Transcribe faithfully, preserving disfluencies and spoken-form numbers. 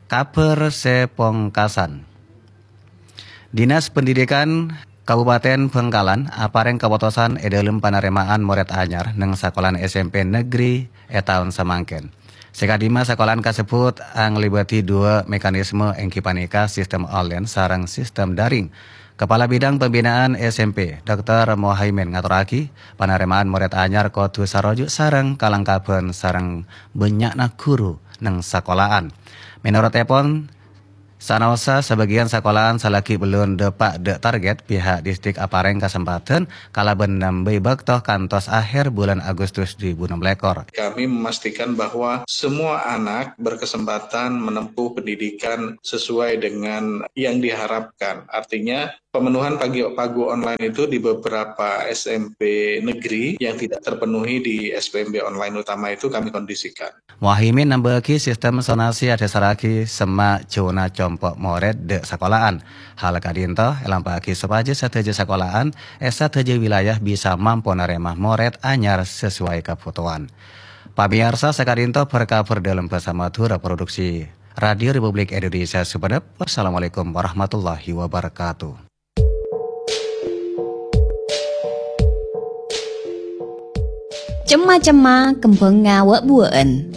Kabhâr sè pongkasan. Dinas Pendidikan Kabupaten Bangkalan aparèng kapotosan è dhâlem panarèma'an morèd anyar neng sakolaan S M P negeri è taon samangkèn. Sè kadimma sakolaan kasebbhut anglèbâdhi duwâ' mekanisme, èngghi panèka sistem online sareng sistem daring. Kepala Bidang Pembinaan S M P, Doktor Mohaimin ngatorraghi, panarèma'an morèd anyar kodhu saroju' sareng kalangkabhân sareng bânnya'na ghuru neng sakolaan. Mènorot èpon, sanaossa sabâgiyân sakolaan salaghi bellun dâpa' dâ' target, pihak distrik aparèng kasempadhân kalabân nambâi bâkto kantos ahèr bulân Agustus du èbu ennem lèkor. Kami memastikan bahwa semua anak berkesempatan menempuh pendidikan sesuai dengan yang diharapkan. Artinya, pemenuhan pagi-, pagu online itu di beberapa S M P negeri yang tidak terpenuhi di S P M B online utama itu kami kondisikan. Muhaimin nambâ'âghi sistem sonasi adhâsarraghi semma' jhuna compo' morèd dâ' sakolaan. Hal ka'dinto èlampa'aghi sopajâ sadhâjâ sakolaan è sadhâjâ wilayah bisa mampo narèma morèd anyar sesuai kabhutowan. Pamèyarsa, saka'dinto bhâr-kabhâr dhâlem bhâsa Madhurâ, produksi Radio Republik Indonesia Sumenep. Wassalamualaikum warahmatullahi wabarakatuh. Cemma-cemma kembhângnga wâ'-buwâ'ân.